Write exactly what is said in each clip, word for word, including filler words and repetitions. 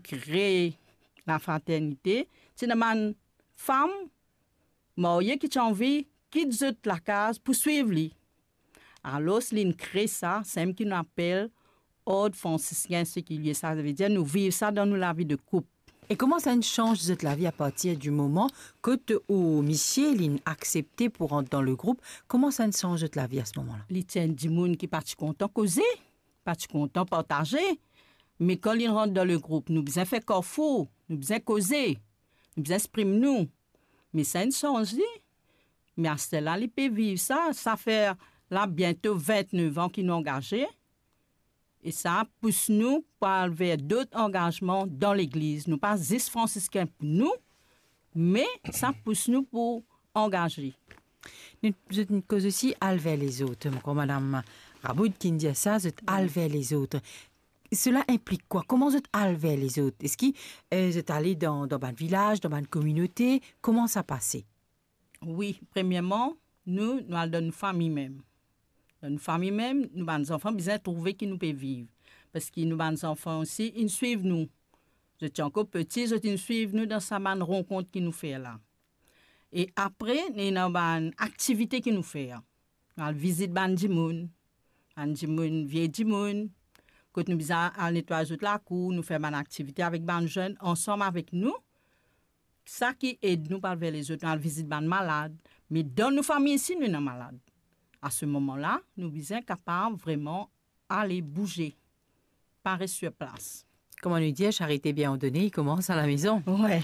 kre lafraternite, ti ena bann fam marye ki ti anvi kit zot lakaz pou swiv li. Alor, linn kre sa, samem ki nou apel Ord Fransiskin Sekilie, savedir nou viv sa dan nou lavi de koup. E kouma sa inn sanz zot lavi apartir di moman kot ou misie linn aksepte pou rant dan le group? Kouma sa inn sanz zot lavi a se moman la? Li ti enn dimoun ki pa ti kontan koze, pa ti kontan partaze. Me kan linn rant dan le group, nou bizin fer karfour, nou bizin koze, nou bizin exprim nou. Me sa inn sanz li. Me aster la, li pe viv sa. Sa fer la biento vintnef an ki nou angaze. E sa pous nou pou al ver dot angazman dan legliz. Nou pa zis Fransiskin pou nou, me sa pous nou pou angaze. Nou, zot inn koz osi al ver lezot. Mo krwar madam Raboud ki inn dir sa, zot al ver lezot. Sela inplik kwa? Kouma zot al ver lezot? Eski, eh, zot ale dan, dan bann vilaz, dan bann kominote? Kouma sa pase? Wi, premierman, nou, nou al dan nou fami mem. Dan nou fami mem, nou bann zanfan bizin trouve ki nou pe viv. Parski nou bann zanfan osi, inn swiv nou. Zot ti ankor peti, zot inn swiv nou dan sa bann rankont ki nou fer la. E apre, ena bann aktivite ki nou fer. Nou al vizit bann dimoun, bann dimoun, vie dimoun, kot nou bizin al netway zot lakour, nou fer bann aktivite avek bann zenn ansam avek nou. Sa ki ed nou pou al ver lezot, nou al vizit bann malad. Me dan nou fami isi, nou ena malad. A se moman la, nou bizin kapav vreman ale bouze, pa res sir plas. Kouma nou dir, charite bien ordone, i koumans a la mezon. Wi.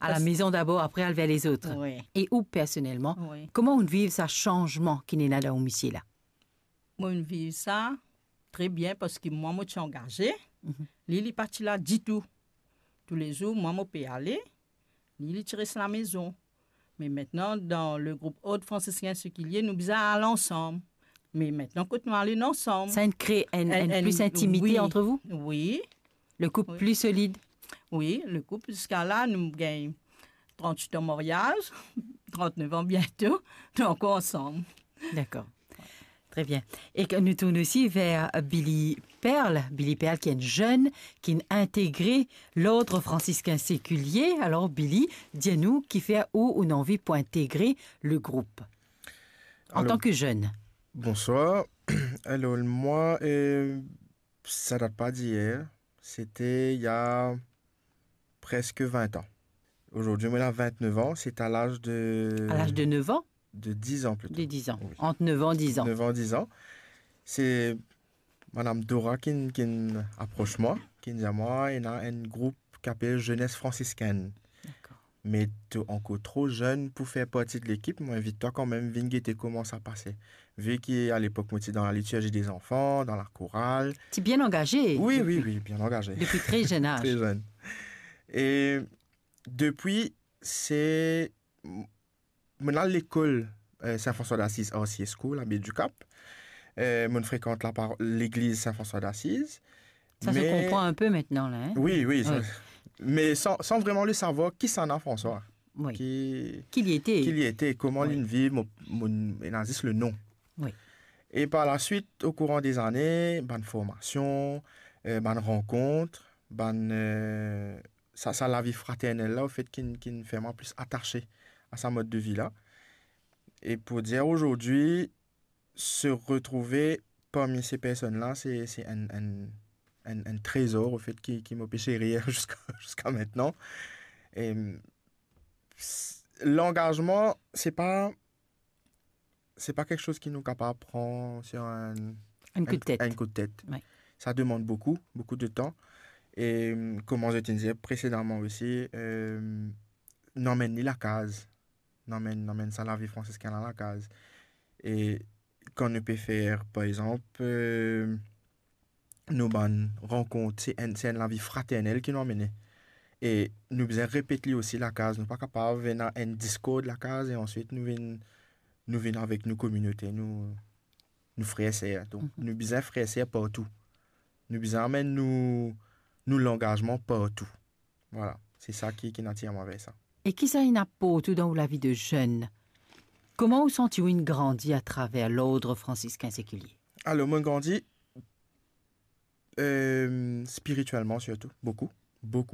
A la mezon dabor, apre al ver lezot. Wi. E ou personelman, wi, kouma ou viv sa sanzman ki ena dan ou misie la? Mo viv sa tre bien parski mwa mo ti angaze, mhm, li, li pa ti la ditou. Toulezour, mwa mo pe ale, li, li ti res lamezon. Me aster, dan le group Ord Fransiskin Sekilie, nou bizin al ansam. Me aster, kot nou al ansam. Sa inn kre enn, enn, enn plis intimite, wi, ant ou? Wi. Le koup, wi, pli solid. Wi, le koup, ziska la, nou gagn trant-wit an maryaz, trant-nef an biento, nou ankor ansam. Dakor. Tre bien. E ke nou tourn osi ver Billy Perle. Billy Perle, ki enn zenn ki integre Lord Fransiskin Sekilie. Alor, Billy, dir nou kifer ou, ou ena anvi pou integre le group. Alor, antan ke zenn. Bonswar. Alor, mwa, eh, sa dat pa diyer, sete il y a presque vingt ans. Aujourd'hui, mo ena vintnef an, c'est à l'âge de... À l'âge de neuf ans? De dix ans plutôt. De dix ans. Oui. Entre neuf ans, dix ans. Neuf ans, dix ans. Se madam Dora ki'nn, ki'nn apros mwa, ki'nn dir mwa, ena enn group ki apel Jeunesse Franciscaine. Dakor. Me to ankor tro zenn pou fer parti de lekip, mo invit twa kanmem vinn gete kouma sa pase. Vi ki alepok mo ti dan la liturgie des enfants, dan lakoral. Ti bien angaze. Wi, wi, wi, bien angaze. Depi tre zenn az. Tre zenn. E depi, se, m-, mo'nn al lekol, eh, Saint François d'Assise, R C S School, Abbaye du Cap. Eh, mo'nn frekant lapar-, legliz Saint François d'Assise. Sa se konpran inpe aster la, hein? Wi, wi, sa, wi, me san, san vreman le savwar kisannla François. Wi. Ki, ki li ete. Ki li ete, kouma, wi, li'nn viv, mo, mo, ena zis le nom. Wi. E par la suite, au courant des années, bann formasion, eh, bann rankont, bann, eh, sa, sa lavi fraternel la, anfet, ki'nn, ki'nn fer mwa plis atase a sa mod de vi la. E pou dir, aujourd'hui, se retrouve parmi ces personnes-là, se, se enn, enn, enn, enn trezor, anfet, ki, ki mo pe serir ziska, ziska aster. E, s-, langazman, se pa, se pa kiksoz ki nou kapav pran sir enn, enn kout tet. Enn kout tet. Wi. Sa demann boukou, boukou de tan. E, kouma zot inn dir presedaman osi, eh, nou amenn li lakaz. Nou amenn, nou amenn sa lavi fransiskin la lakaz. E kan nou pe fer, par exanp, eh, nou bann rankont, se enn, se enn lavi fraternel ki nou amene. E nou bizin repet li osi lakaz. Nou pa kapav ena enn diskord lakaz e answit nou vinn, nou vinn avek nou kominote, nou, nou frer ser. Donk, mhm, nou bizin frer ser partou. Nou bizin amenn nou, nou langazman partou. Vwala, se sa ki, ki inn atir mwa ver sa. E ki sa inn aport ou dan ou lavi de zenn? Kouma ou santi ou inn grandi atraver Lord Fransiskin Sekilie? Alor, mo grandi, eh, spiritielman sirtou, boukou, boukou.